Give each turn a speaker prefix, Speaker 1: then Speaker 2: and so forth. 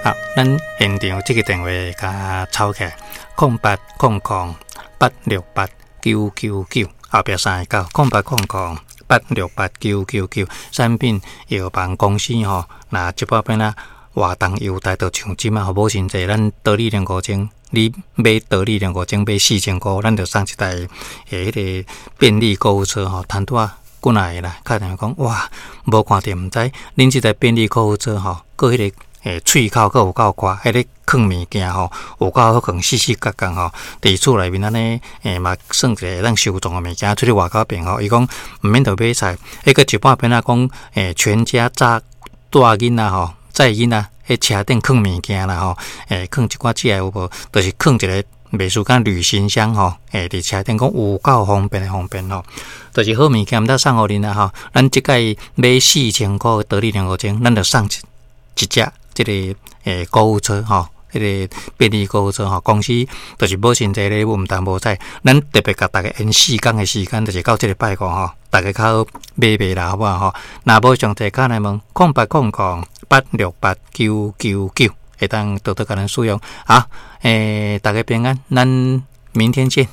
Speaker 1: 好，咱現場這个電話共抄起來，0800868999，後壁三个九，0800868999。產品藥房公司吼，若這擺變啊活動優待，就像這擺吼，母親節，咱桃李兩五千，你買桃李兩五千買4000箍，咱就送一台彼个便利購物車吼，談拄仔過來啦，敲電話講哇，無看著毋知，恁這台便利購物車吼，閣彼個喙口閣有夠闊，彼个囥物件吼，有夠好囥四四角角吼，佇厝內面按呢，嘛算一个會當收藏的物件，出去外口變吼，伊講毋免著買菜，彼個一半變仔講，全家載帶囡仔吼，載囡仔彼車頂囥物件啦吼，囥一寡食的有無？就是囥一个袂輸敢旅行箱吼，佇車頂講有夠方便的方便吼，就是好物件毋得送予恁啦吼。咱這擺買四千箍桃李兩五千，咱就送一一隻這个購物車吼，彼个便利購物車吼，公司就是母親節禮物毋但無彩，咱特別共逐家延4工的時間，就是到這个拜五吼，逐家較好買賣啦，好無吼？若無詳細敲來問，0800868999，會當多多共咱使用。好，逐家平安，咱明天見。